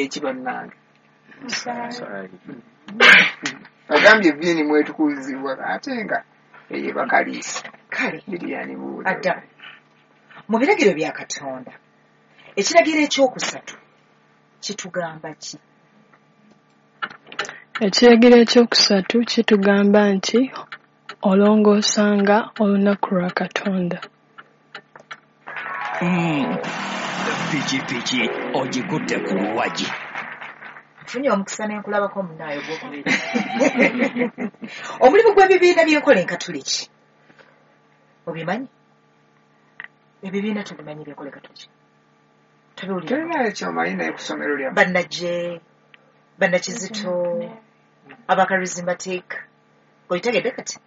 eki bannange? Agambye evviini mwetukuzibwa ate nga eyo bakaliisa. Kale Lilian buuza. Adda mu biragiro bya Katonda, ekiragiro ekyokusatu kitugamba ki? Ekiragiro ekyokusatu kitugamba nti olongoosanga olunaku lwa Katonda. Pikipiki ogikutte ku luwagi. Nfunye omukisa ne nkulabako munnaayo gw'okubiri. Omulimu gw'ebibiina by'enkola enkatuliki obimanyi? Ebibiina tubimanyi by'enkola enkatuliki? Tobiwulira? Tolinayo kyomanyi naye ku ssomero lyammwe. Bannajje, bannakizito, abacharismatic, obitegedde kati?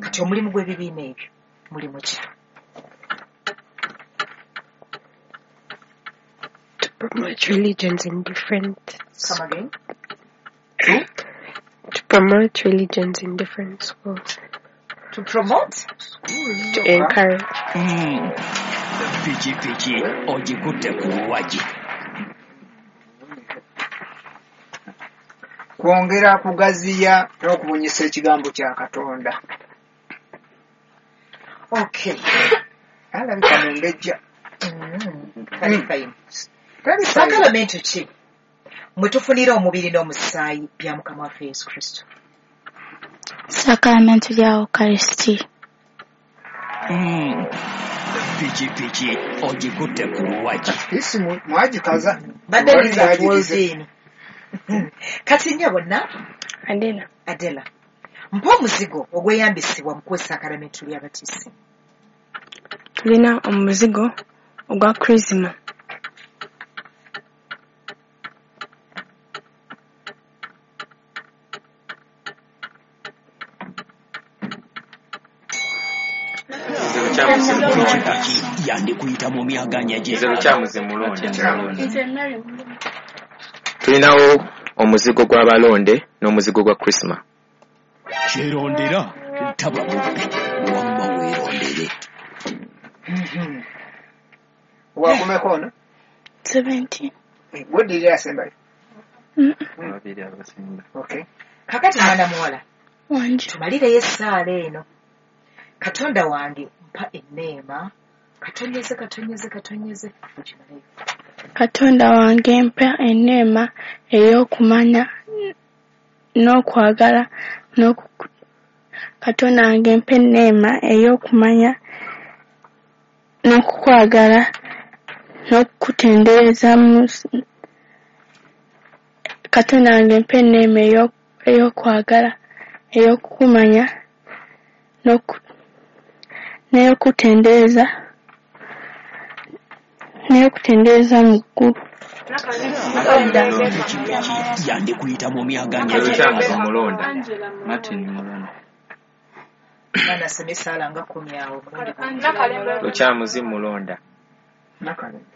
Kati omulimu gw'ebibiina ebyo mulimu ki? To promote religions in different Come again? To promote religions in different schools. To promote? To encourage. Pikipiki ogikutte ku luwagi. Kwongera kugaziya n'okubunyisa ekigambo kya Katonda. Okay. Alabika mumbejja. Kale fine. Tali fine. Sakalamento ki mwe tufunira omubiri n'omusaayi bya Mukama waffe Yesu Kristo? Sakalamento lya Ukaristia. Pikipiki ogikutte ku luwagi. Isi mwagikaza. Badde Wali nninza mwagirize. Wolverine. Kati nnyabo na Adela. Adela, mpa omuzigo ogweyambisibwa mu kuwa essakalamento ly'abatisi. Tulina omuzigo ogwa Chrisma. Pikipiki yandikuyita mu myaganya Nze gy'engalo. Lukyamuzi Mulonda. Nze Mary Mulonda. Tulinawo omuzigo gw'abalonde n'omuzigo gwa Chrisma. Kyerondera taba mubbi wamma weerondere. Wakumeko ono? 17. Gw'oddirira asembayo. Babiri abasemba. Okay. Kakati mwana muwala, Wangi. tumalireyo essaala eno. Katonda wange mpa enneema, katonyeze katonyeze katonyeze ogimaleyo. Katonda wange mpa enneema ey'okumanya n'okwagala n'oku Katonda wange mpa enneema ey'okumanya n'okukwagala n'okukutendereza mu Katonda wange mpa enneema ey'okwagala ey'okukumanya n'ey'okutendereza mu ggulu. Pikipiki yandikuyita mu myaganya Nze Lukyamuzi gy'engalo. Mulonda. Martin Mulonda. Mwana asome essaala nga kkumi awo omulundi gumu. Lukyamuzi Mulonda. Nakalembe.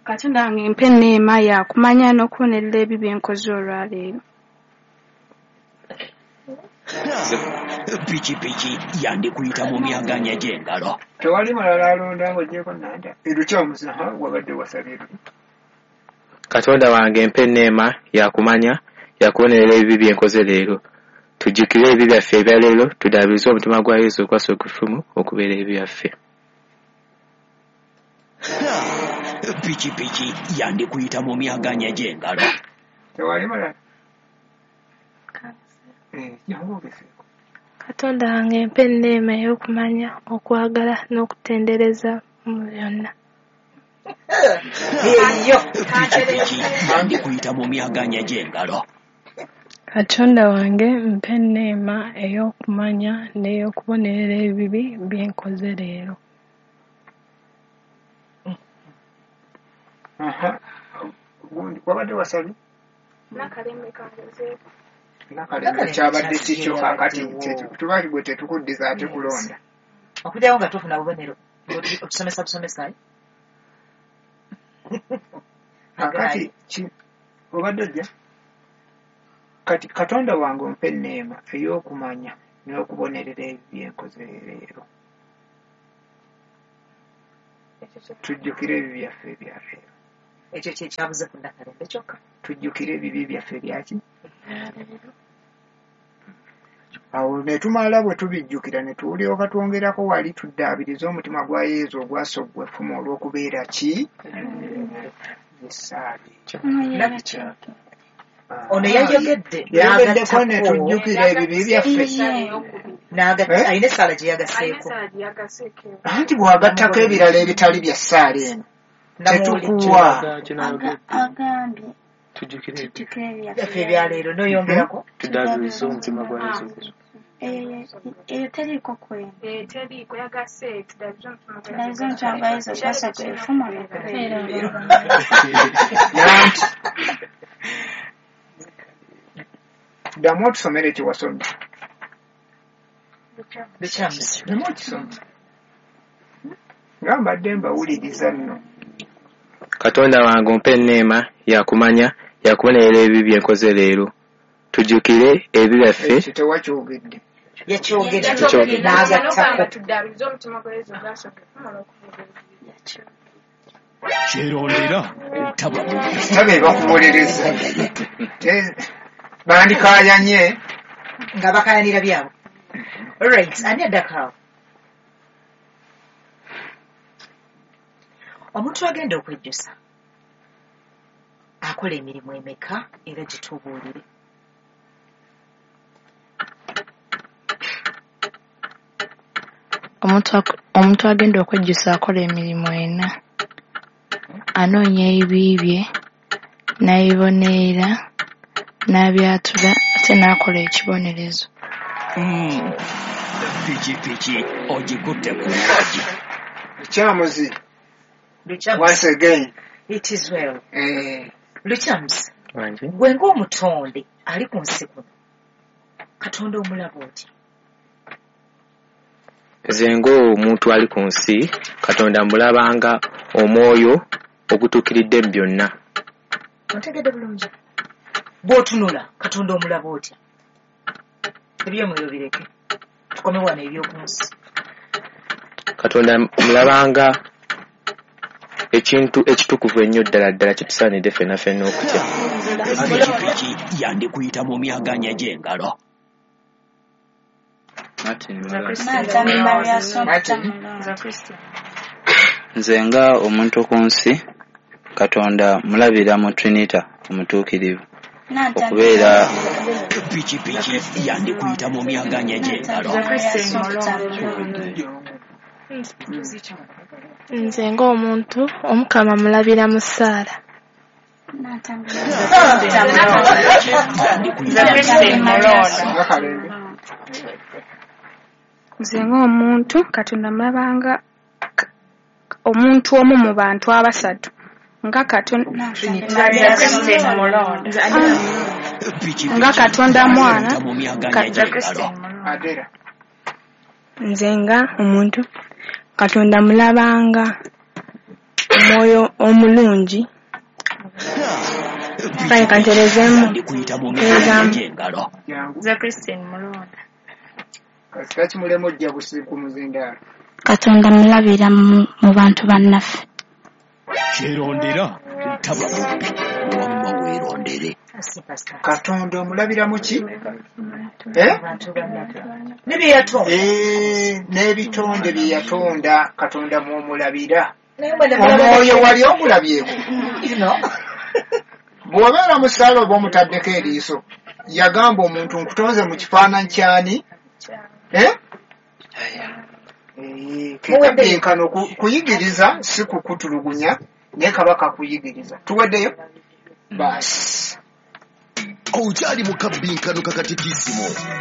Katonda wange mpa enneema ya kumanya n'okubonerera ebibi bye nkoze olwaleero. Pikipiki yandikuyita mu myaganya gy'engalo. Tewali mulala alonda ng'oggyeko Nanda. Lukyamuzi ha wabadde wasabye luli. Katonda wange mpa enneema ya kumanya ya kubonerera ebibi bye nkoze leero. Tujjukire ebibi byaffe ebya leero, tudaabirize omutima gwa Yesu okwasa okufumu okubeera ebibi byaffe. Pikipiki yandikuyita mu myaganya gy'engalo. Tewali mulala. Jangu ogezeeko. Katonda wange mpa enneema ey'okumanya, okwagala n'okutendereza mu byonna. Eyo. Pikipiki yandikuyita mu myaganya gy'engalo. Katonda wange mpa enneema ey'okumanya n'ey'okubonerera ebibi bye nkoze leero. Aha. Gundi wabadde wasabye? Nakalembe kangezeeko. Nakalembe Nakalembe kyabadde kyasi kikyo kye kaakati yabaddewo. tuba gwe tetukuddiza ate Yes. kulonda. Okugyawo nga tofuna bubonero otusomesa busomesa. Kaakati obadde ojja? Kati Katonda wange ompa enneema ey'okumanya n'okubonerera ebibi bye nkoze leero. Tujjukire ebibi byaffe ebya leero. Ekyo kye kyabuze ku Nakalembe kyokka. Tujjukire ebibi byaffe byaki. Awo ne tumala bwe tubijjukira ne tulyoka twongerako wali tuddaabirize omutima gwa Yesu ogwasoggwa effumu olw'okubeera ki? Essaala. Ono yayogedde yayogeddeko ne tujjukira ebibi byaffe. Alina essaala gye yagaseeko. Anti bw'agattako ebirala ebitali bya ssaala eno tetukuwa. Agambye tujjukire byaffe ebyaleero n'oyongerako tuddaabirize omutima gwa Yesu. Eyo teriiko kweno. Tuddaabirize omutima gwa Yesu ogwasoggwa effumu olw'okubeera. Nanti ddamu otusomere kye wasomye. Ddamu okisome. Nga mbadde mbawuliriza nno. Katonda wange ompe enneema ya kumanya yakubonerera ebibi bye nkoze leero. Tujjukire ebibi byaffe. Ekyo tewakyogedde. Yakyogedde n'agattako. Kyerondera taba Taba ebakuwolereza. Bandikaayanye nga bakaayanira byabwe. Alright, ani addako awo? Omuntu agenda okwejjusa akola emirimu emeka era gitubuulire. Omuntu agenda okwejjusa akola emirimu ena. Anoonya ebibi bye, n'abibonerera, n'abyatula ate n'akola ekibonerezo. Pikipiki ogikutte ku lwogi. Lukyamuzi. Once again. It is well. Lukyamuzi. Gwe ng'omutonde ali ku nsi kuno, Katonda omulaba otya? Nze ng'omuntu ali ku nsi, Katonda mulabanga omwoyo ogutuukiridde mu byonna. Ontegedde bulungi? Bw'otunula Katonda omulaba otya? Eby'omwoyo bireke, tukome wano eby'oku nsi. Katonda mulabanga ekintu ekitukuvu ennyo ddala ddala kitusaanidde ffenna ffenna okutya. Pikipiki yandikuyita mu myaganya gy'engalo. Nze nga omuntu ku nsi, Katonda mulabira mu Trinita omutuukirivu okubeera. Pikipiki yandikuyita mu myaganya gy'engalo. Nze ng'omuntu Omukama mulabira mu ssaala. Nze ng'omuntu Katonda mulabanga omuntu omu mu bantu abasatu nga Katonda mwana. Nze nga omuntu Katonda mulabanga omwoyo omulungi. Kale kanterezeemu. Katonda mulabira mu bantu bannaffe. Kyerondera taba mubbi wamma weerondere. Katonda omulabira mu ki? N'ebitonde bye yatonda Katonda mw'omulabira. Omwoyo wali omulabyeko. Bw'obeera mu ssaala oba omutaddeko eriiso, yagamba omuntu nkutonze mu kifaananyi ky'ani? Kekabenkano kuyigiriza si kukutulugunya naye kaba kakuyigiriza. Tuweddeyo? Baasi. Okyali mu kabbinkano kakatikisimu.